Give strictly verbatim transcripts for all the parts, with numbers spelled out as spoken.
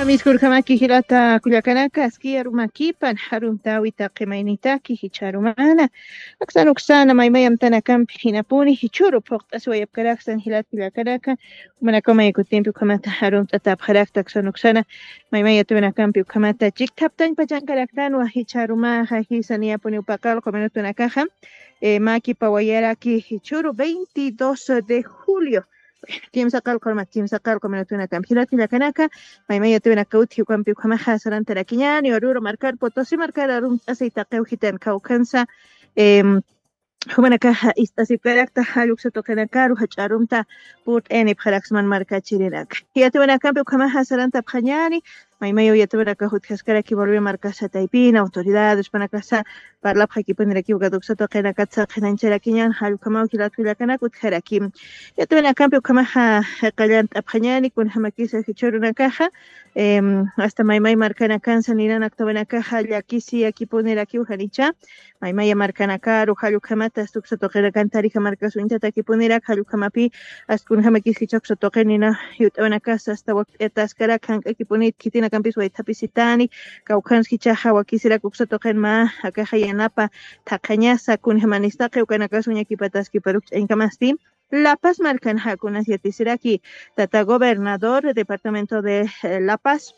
Miskurkamaki jilata kullakanaka, aski arumakipan, arumtawi taqi maynitaki, jichha arumana. Aksan uksana, maymay amtanakampi jinapuni, jichhuru phuqt'asiwayapkaraksan jilat kullakanaka, jumanakaw may kutimpi ukhamata arumt'atapxarakta, aksan uksana, maymay yatuyanakampi ukhamata chikthaptañ pachankaraktanwa, jichha arumaxa, jisa niyapuni upaqalqu minutunakaxa, eh, maki pawayaraki, jichhuru veintidós de julio. Kimsa qallqu armat, kimsa qallqu minutunakampi. Jilat kullakanaka, maymay yatuyunaka utji ukampi ukhamaxa sarantarakiñäni, Oruro markar, Potosí markar arumt'asiy taqiw jitan kawkhansa, em, jumanakaxa ist'asipkarakta, jall uksa tuqinakaru jach'a arumta purt'ayanipxaraksman markachirinaka. Yatuyunakampi ukhamaxa sarantapxañäni, maymayaw yatuyunaka jutjaskaraki Bolivia markasa taypina, autoridades, jupanakasa parlapxakipunirakiw ukat uksa tuqinakat saqinañcharakiñän, jall ukhamaw jilat kullakanaka utjaraki. Yatuyunakampi ukhamaxa qallant'apxañäni, kunjamakisa jichhürunakaxa, em, hasta maymay markanakansa ninanak tawinakaxa llakisiyakipunirakiw janicha, maymaya markanakaru, jall ukhamata hasta uksa tuqinakan Tarija markas uñtatakipuniraka, jall ukhamapi, hasta kunjamakis jichha uksa tuqin nina yut'awinakasa hasta wakt'ataskaraka, jank'akipunit khitinakampis waythapisitani, kawkhans jichhaxa wakisirak uksa tuqin mä akaxa yanapa thaqhañasa, kunjamanistaqi ukanakas uñakipataskiparuk ch'añkamasti. La Paz markanxa kunas yatisiraki, tata gobernador departamento de, eh, La Paz,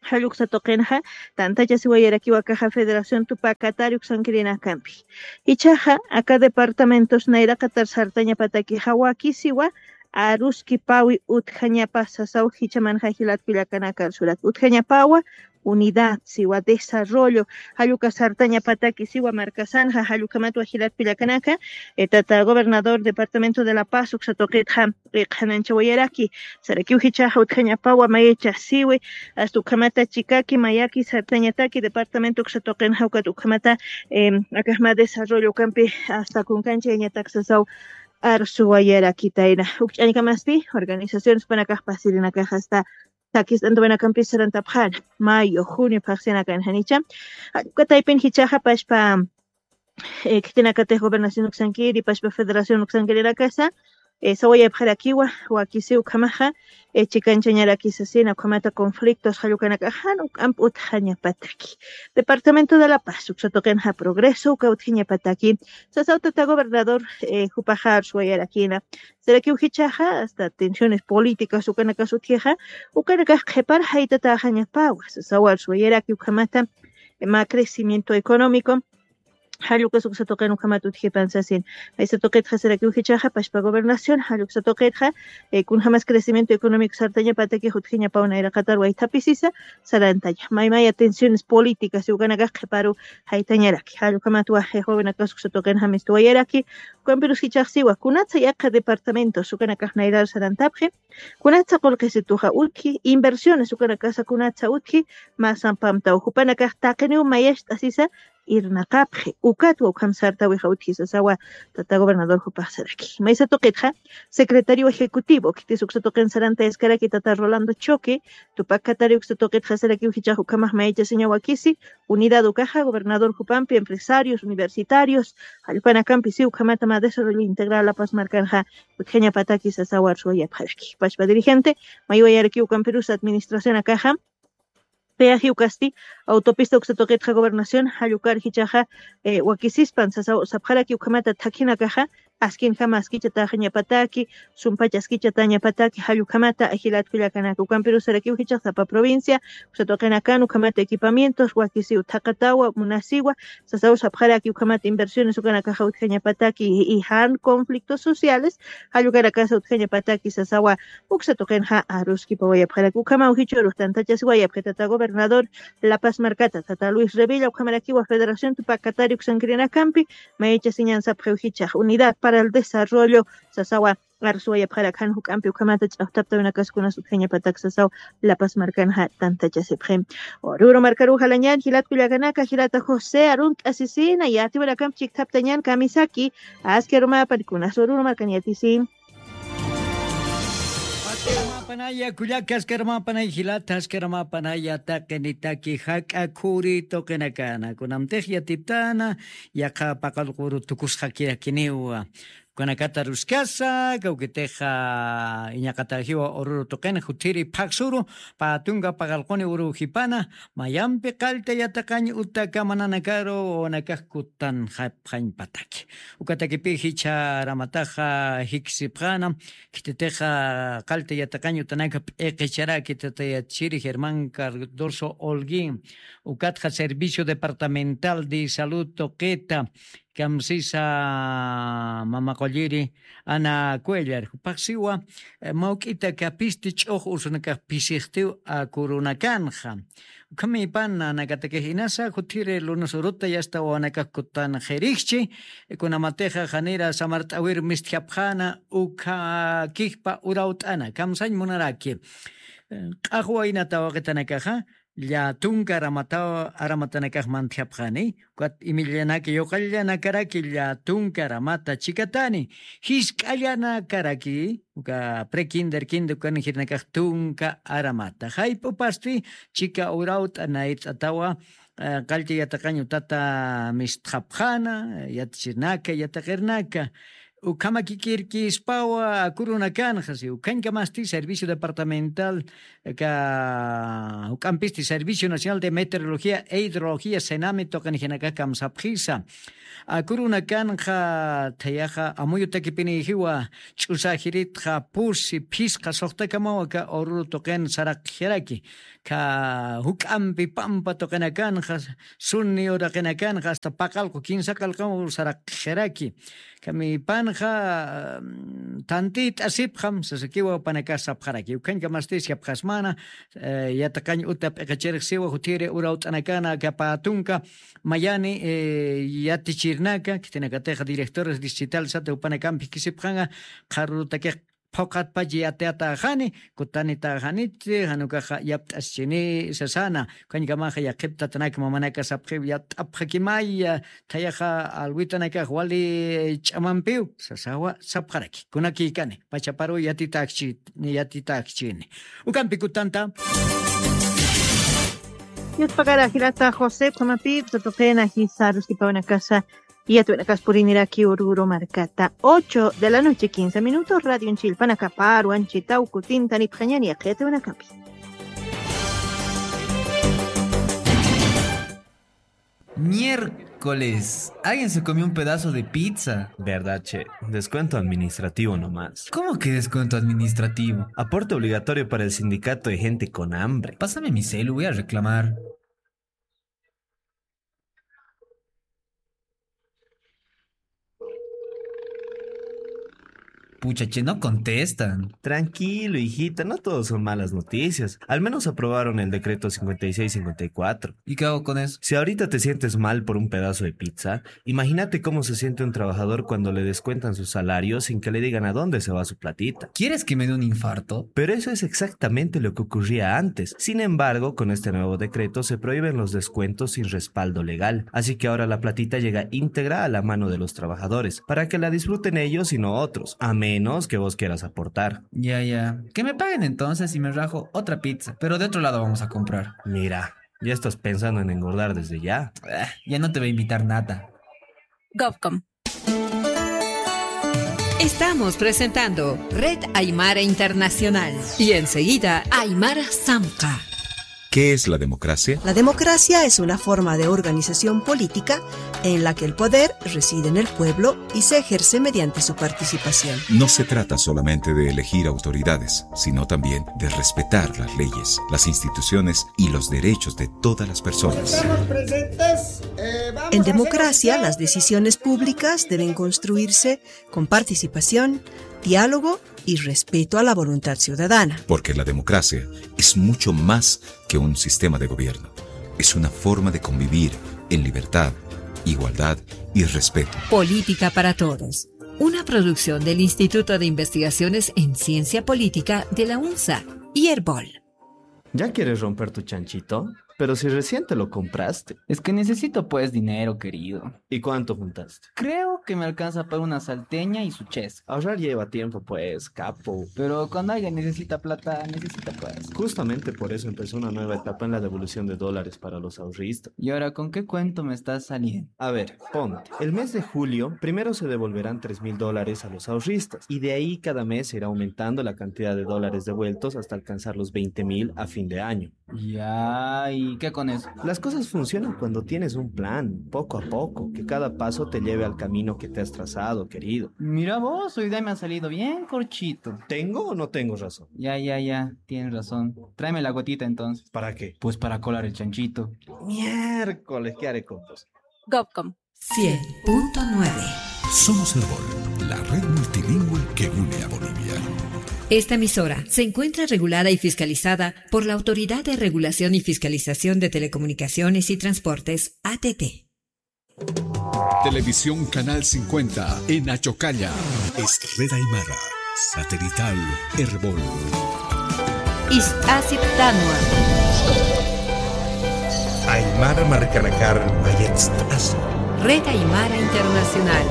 jall uksa tuqinxa tantachasiwayarakiw akaxa Federación Tupac Katari uksankirinakampi. Jichhaxa aka departamentos nayraqatar sartañapatakixa wakisiwa aruskipawi utjañapa sasaw, jichhamanxa jilat kullakanaka arsurak. Utjañapawa unidad siwa, desarrollo, jall uka sartañapataki siwa markasanxa, jall ukhamatwa jilat kullakanaka, eh, tata gobernador departamento de La Paz uksa tuqitxa qhananchawayaraki. Sarakiw jichhaxa utjañapawa mayacha siwi, hasta ukhamata chikaki mayaki sartañataki departamento uksa tuqinxa ukat ukhamata, em, akax mä desarrollo ukampi hasta kunkanchayañatak sasaw arsuwayarakitayna. Uk ch'añkamasti organizaciones jupanakax pasirinakax hasta sakist'antawinakampis sarantapxäna, mayo, junio phaxsinakan janicha. Jall uka taypin jichhaxa pachpa, eh, khitinakatix gobernación uksankiri, pachpa federación uksankirinakasa, eh, sawayapxarakiwa, wakisiw ukhamaxa, eh, chikanchañaraki sasina, ukhamata conflictos jall ukanakax jan uk'amp utjañapataki. Departamento de La Paz uksa tuqinxa progreso uka utjañapataki sasaw tata gobernador, eh, jupaxa arsuwayarakina. Sarakiw jichhaxa hasta tensiones políticas ukanakas utjixa, ukanakax qhipar jaytataxañapawa sasaw arsuwayaraki ukhamata, eh, mä crecimiento económico, jall ukas uksa tuqin ukhamat utjipan sasin. Maysa tuqitxa sarakiw jichhaxa pachpa gobernación, jall uksa tuqitxa, eh, kunjamas crecimiento económico sartañapatakix utjañapaw nayraqatar waythapisisa sarantaña. Maymaya tensiones políticas ukanakax qhiparu jaytañaraki. Jall ukhamatwa, eh, jovenakas uksa tuqinxa mistuwayaraki. Ukampirus jichhax siwa, kunatsa yaqha departamentos ukanakax nayrar sarantapxi, kunatsa qullqisituxa utji, inversiones ukanakasa kunatsa utji, mä sampamtaw jupanakax taqiniw mayacht'asisa irnaqapxi, ukatwa ukham sartawixa utji sasawa tata gobernador jupax saraki. Maysa tuqitxa secretario ejecutivo khitis uksa tuqin sarantayaskaraki tata Rolando Choque, Tupac Katari uksa tuqitxa sarakiw jichhax ukhamax mayachasiña wakisi, unidad ukaxa gobernador jupampi, empresarios, universitarios, jall upanakampi si ukhamata mä desarrollo integral La Paz markanxa utjañapataki sasaw arsuwayapxaraki. Pachpa dirigente maywayaraki ukampirus administración akaxa, peaje ukasti, autopista uksa tuqitxa gobernación jall ukar jichhaxa, eh, wakisispan sasaw sapxaraki ukhamata thakhinakaxa askinjama askichataxañapataki, sumpach askichatañapataki, jall ukhamata jilat kullakanaka. Ukampirus sarakiw jichhax sapa provincia uksa tuqinakan ukhamata equipamientos wakisiw thaqatawa munasiwa sasaw sapxaraki ukhamata inversiones ukanakaxa utjañapataki y jan conflictos sociales, jall ukanakasa utjañapataki sasawa uksa tuqinxa aruskipawayapxaraki. Ukhamaw jichhürux tantachasiwayapxi tata gobernador La Paz markata, tata Luis Revilla, ukhamarakiwa Federación Tupac Katari uksankirinakampi, mayachasiñan sapxiw jichhax Unidad para el Desarrollo sasawa arsuwayapxarak jan juk'ampi ukhamata ch'axtaptawinakas kunas utjañapatak sasaw La Paz markanxa tantachasipxi. Oruro markaru jalañan jilat kullakanaka, jilata José, arunt'asisina, yatiwinakampi chikthaptañan kamisaki, aski arumapan kunas Oruro markan yatisi. Aski arumapanaya kullaka, aski arumapanaya jilata, aski arumapanaya taqinitaki jak'a khuri tuqinakana. Kunamtix yatiptana, yaqha paqallquru tukusxakirakiniwa. Ukanakata ruskasa, kawkitixa iñaqatajiwa Oruro tuqin, juthiri phaxsuru, pä tunka paqallquni uruw jipana, mayampi qallta yataqañ uta kamananakaru wawanakax kutanxapxañ pataki. Ukatakipi jichha aramataxa jikisipxäna, khititixa qallta yataqañ utanaka p'iqicharaki tata yatichiri Germán Cardoso Holguín, ukatxa Servicio Departamental de Salud tuqita, kamsisa mama qulliri Ana Cuellar, jupax siwa, eh, mawk'ita kapisti ch'ux usunakax pisixtiw akurunakanxa. Ukhamipan nanakatakix inasa, jutiri lunes uruta yasta wawanakax kutanxirixchi, kunamatixa janira samart'awir mistjapxäna, ukha kijpa urawt'ana, kamsañ munaraki. Eh, q'axwa inata waqitanakaxa, llä tunka aramata, aramatanakax mantjapxani, ukat imillanaka yuqallanakaraki llä tunka aramata chikatani, jisk'allanakaraki, uka pre-kinder, kinder, ukan jirinakax tunka aramata. Jayp'upasti chika urawt'a nayt'atawa, eh, qallta yataqañ utata mistxapxäna, yatichirinaka, yataqirnaka, ukhamakikirkispawa akurunakanxa, si ukhañkamasti servicio departamental, ka, juk'ampisti Servicio Nacional de Meteorología e Hidrología, sename tuqinjinakax kamsapxisa. Akurunakanxa thayaxa amuyutakipinijiwa, ch'usajiritxa, pusi, phisqa suxtakamawa ka Oruro tuqin saraqxiraki. Ka juk'ampi pampa tuqinakanxa, suni uraqinakanxa, hasta paqallqu kinsa qallqaw saraqxiraki. Kamipanxa, mm, tantit'asipxam, sasakiwa panakax sapxaraki. Ukhañkamasti sapxasmana, eh, yataqañ uta p'iqichirix siwa, jutiri urawt'anakana, ka pä tunka, mayani, eh, yatichirnaka, khitinakatixa directores distritales sata jupanakampi jikisipxanxa, qharürutakix phuqhatpach yatiyatäxani, kutanitäxaniti, jan ukaxa yapt'asichini sasana, ukhañkamaxa yaqhip tatanak mamanaka sapxiw yapt'apxakimaya, thayaxa alwitanakax wali ch'amampiw, sasawa sapxaraki, kunakïkani, pachaparu yatitäkchi-, yatitäkchini. Ukampi kutanta. Yatpaqara jilata José, ukhamapï, tutuqina jisa, ruskipawanakasa, yatwinakaspuriniraki Oruro markata. Ocho de la noche, quince minutos, radio chillpanakaparu anchitaw kutintanipxañani yaqhitwinakapi. Miércoles. Alguien se comió un pedazo de pizza. ¿Verdad, che? Descuento administrativo nomás. ¿Cómo que descuento administrativo? Aporte obligatorio para el sindicato de gente con hambre. Pásame mi celu, voy a reclamar. Pucha, che, no contestan. Tranquilo, hijita, no todo son malas noticias. Al menos aprobaron el decreto cincuenta y seis cincuenta y cuatro. ¿Y qué hago con eso? Si ahorita te sientes mal por un pedazo de pizza, imagínate cómo se siente un trabajador cuando le descuentan su salario sin que le digan a dónde se va su platita. ¿Quieres que me dé un infarto? Pero eso es exactamente lo que ocurría antes. Sin embargo, con este nuevo decreto se prohíben los descuentos sin respaldo legal. Así que ahora la platita llega íntegra a la mano de los trabajadores, para que la disfruten ellos y no otros, a menos que vos quieras aportar. Ya, ya. Que me paguen entonces y me rajo otra pizza, pero de otro lado vamos a comprar. Mira, ya estás pensando en engordar desde ya. Ah, ya no te va a invitar nada. Govcom. Estamos presentando Red Aymara Internacional y enseguida Aymara Samca. ¿Qué es la democracia? La democracia es una forma de organización política en la que el poder reside en el pueblo y se ejerce mediante su participación. No se trata solamente de elegir autoridades, sino también de respetar las leyes, las instituciones y los derechos de todas las personas. En democracia, las decisiones públicas deben construirse con participación, diálogo y respeto a la voluntad ciudadana. Porque la democracia es mucho más que un sistema de gobierno. Es una forma de convivir en libertad, igualdad y respeto. Política para Todos, una producción del Instituto de Investigaciones en Ciencia Política de la UNSA y Erbol. ¿Ya quieres romper tu chanchito? Pero si recién te lo compraste. Es que necesito, pues, dinero, querido. ¿Y cuánto juntaste? Creo que me alcanza para una salteña y su chesca. Ahorrar lleva tiempo, pues, capo. Pero cuando alguien necesita plata, necesita, pues. Justamente por eso empezó una nueva etapa en la devolución de dólares para los ahorristas. ¿Y ahora con qué cuento me estás saliendo? A ver, ponte. El mes de julio, primero se devolverán tres mil dólares a los ahorristas, y de ahí cada mes se irá aumentando la cantidad de dólares devueltos hasta alcanzar los veinte mil a fin de año. Ya, ¿y qué con eso? Las cosas funcionan cuando tienes un plan, poco a poco, que cada paso te lleve al camino que te has trazado, querido. Mira vos, hoy día me ha salido bien corchito. ¿Tengo o no tengo razón? Ya, ya, ya, tienes razón. Tráeme la gotita entonces. ¿Para qué? Pues para colar el chanchito. Miércoles, ¿qué haré con vos? Gopcom. Cien punto nueve. Somos Erbol, la red multilingüe que une a Bolivia. Esta emisora se encuentra regulada y fiscalizada por la Autoridad de Regulación y Fiscalización de Telecomunicaciones y Transportes, A T T. Televisión Canal cincuenta en Achocalla. Es Red Aymara, satelital Erbol. Ist'asiptanwa. Aymara markanakar mayatst'asi. Red Aymara Internacional.